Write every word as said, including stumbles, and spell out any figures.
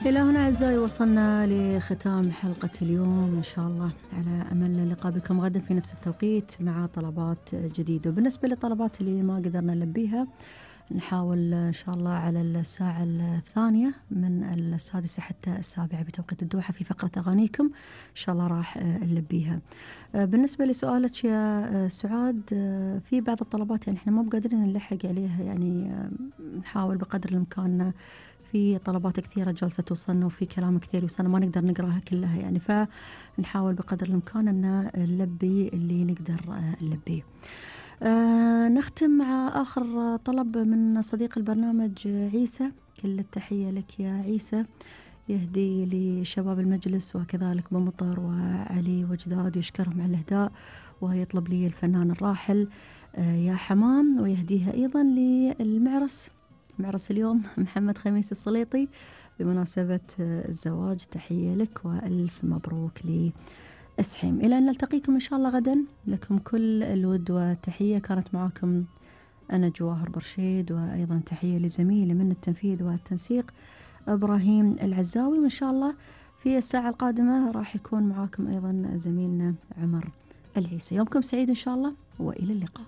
إلى هنا أعزائي وصلنا لختام حلقة اليوم، إن شاء الله على أمل اللقاء بكم غدا في نفس التوقيت مع طلبات جديدة. وبالنسبة للطلبات اللي ما قدرنا نلبيها نحاول إن شاء الله على الساعة الثانية من السادسة حتى السابعة بتوقيت الدوحة في فقرة أغانيكم، إن شاء الله راح نلبيها. بالنسبة لسؤالك يا سعاد، في بعض الطلبات يعني إحنا ما بقادرين نلحق عليها، يعني نحاول بقدر الإمكان، في طلبات كثيرة جالسة توصلنا وفي كلام كثير يوصلنا ما نقدر نقراها كلها يعني، فنحاول بقدر الإمكان أن نلبي اللي نقدر نلبيه. آه نختم مع آخر طلب من صديق البرنامج عيسى. كل التحية لك يا عيسى، يهدي لشباب المجلس وكذلك بمطر وعلي وجداد ويشكرهم على الإهداء، ويطلب لي الفنان الراحل آه يا حمام، ويهديها أيضا للمعرس، معرس اليوم محمد خميس السليطي بمناسبة الزواج. تحية لك وألف مبروك لأسحيم. إلى أن نلتقيكم إن شاء الله غدا، لكم كل الود والتحية. كانت معكم أنا جواهر برشيد، وأيضا تحية لزميلي من التنفيذ والتنسيق إبراهيم العزاوي، وإن شاء الله في الساعة القادمة راح يكون معاكم أيضا زميلنا عمر العيسى. يومكم سعيد إن شاء الله، وإلى اللقاء.